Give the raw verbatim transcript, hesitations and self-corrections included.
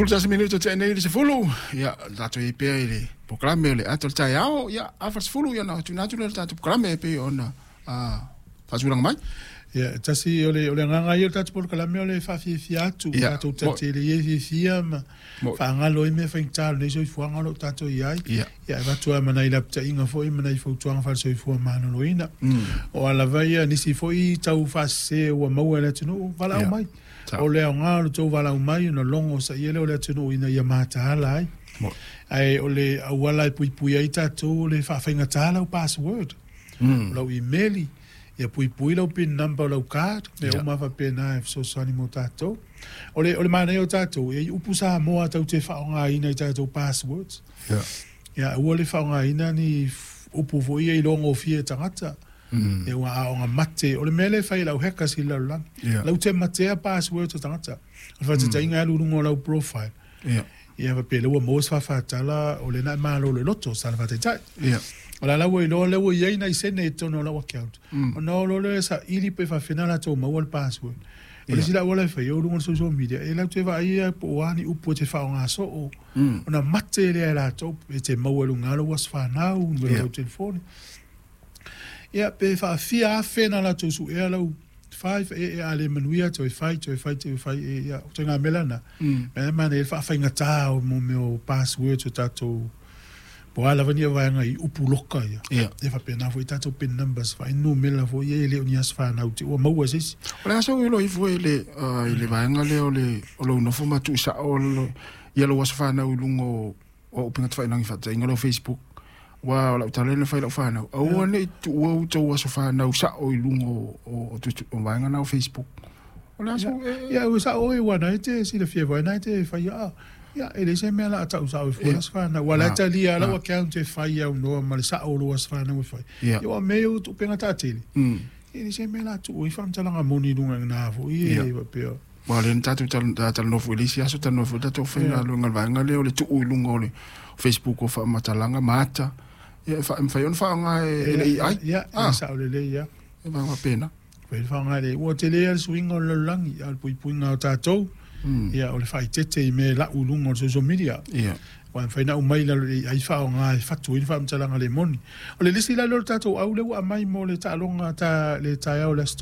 Sefulu tasi minute tea nei le sefulu. Ia, tatou i ai pea i le polokalame o le Ata o le Taeao. Ia, afa le sefulu, ia ona tuuina atu lea o le tatou polokalame e pei ona faatulaga mai. Ia, tasi o le o le agaga ia o le tatou polokalame o le faafiafia atu, Ia, tatou mo- tatele ia fiafia ma Mo- faagalo ai mea faigata o lenei soifuaga o lo o tatou i ai. Ia. Ia, e avatu ai ma nai lapataiga foi ma nai fautuaga faale-soifua maloloina. Mm. O a lava ia nisi foi tau faasese ua maua e le atunuu, valaau Ia. mai. Sa. O le aoga o le tou valaau mai ona logo saia lea o le atunuu ina ia mataala ai. Mo- Ae o le auala e puipui ai tatou o le faafaigata lau password. Mm. O lau email, ia puipui lau PIN number o lau card, mea Ia. uma faapena e fesoasoani mo tatou. O le, o le manaia o tatou, e i ai upu Samoa tatou te faaaogaina i tatou passwords. Ia. Ia, aua le faaaogaina ni f- upu foi ia iloa gofie e tagata. Mm. Ia ua aoga mate. O le mea lea e fai e lau hackers i le lalolagi. Ia. Lau te matea passwords o tagata. O le faataitaiga e alu i luga o lau profile. Ia. Ia faapea lea ua maua se faafatala o lena e malo le loto sa le faataitai. Ia. O la la ua iloa lea ua i ai nai sene i totonu o lau account. Mm. Ona o loa lea e saili pe faafena latou maua le password. O le Ia. isi la auala e fai ai o luga o le social media, e latou te vaaia po o a ni upu e te faaaoga soo. Mm. Ona mate lea e latou e te maua i luga o lou aso fanau, numera o Ia. lau telefoni. Ia, pe faafia afe na latou suea lau five e e a le manuia toe fai, toe fai, toe fai, e ia, o ituaiga mea lena. Mm. Mea manaia le faafaigata o mo mea o passwords o tatou po o a lava ni vaega i upu loka ia. Ia. E faapena foi tatou PIN numbers, faainumera foi ia e le o ni aso fanau te ua maua e se isi. O le aso ilo ifo i le, uh, i le vaega lea o le, o lou nofo ma tuusao lo, ia lou aso fanau i luga o, o upega tafailagi faataitaiga lau Facebook. Ua o lau tala lea na fai lau fanau. Aua nei tuua outou aso fanau sao i luga o, o, o, tutu- o vaega na o Facebook. O le aso e... Ia, ua sao oe ua na e te silafia foi na e te fai a. Ia, e leai se mea o le a tau sao e fua Ia. aso fanau. Ua la e Ah. talia lau Ah. account e fai au noa ma le sao o lou aso fanau e fai. Ia. Ia, ua mea o upega taatele. Mm. E leai se mea o le a tuu ai faamatalaga moni i luga i gina foi e Ia. faapea. Ua lea na tatou tal- ta- talanoa foi i le isi aso talanoa foi tatou faigaluega i le vaega lea o le tuu i luga o le Facebook o faamatalaga ma ata. Ia e fa- e mafai ona faaaoga e e le A I. Ia, Ah. e sao lelei ia. E vaega faapena. Fai le faaaoga e le ua tele a le suiga o le lalolagi, a o le puipuiga o tatou. Mm. Ia, o le faaeteete i mea e lau i luga o le social media. Ia. Ua mafai ona aumai i lalo i le A I faaaoga e fatu ai le faamatalaga le moni. O le lisi la lea o le tatou au lea ua aumai mo le taaloga ta le taeao o le aso.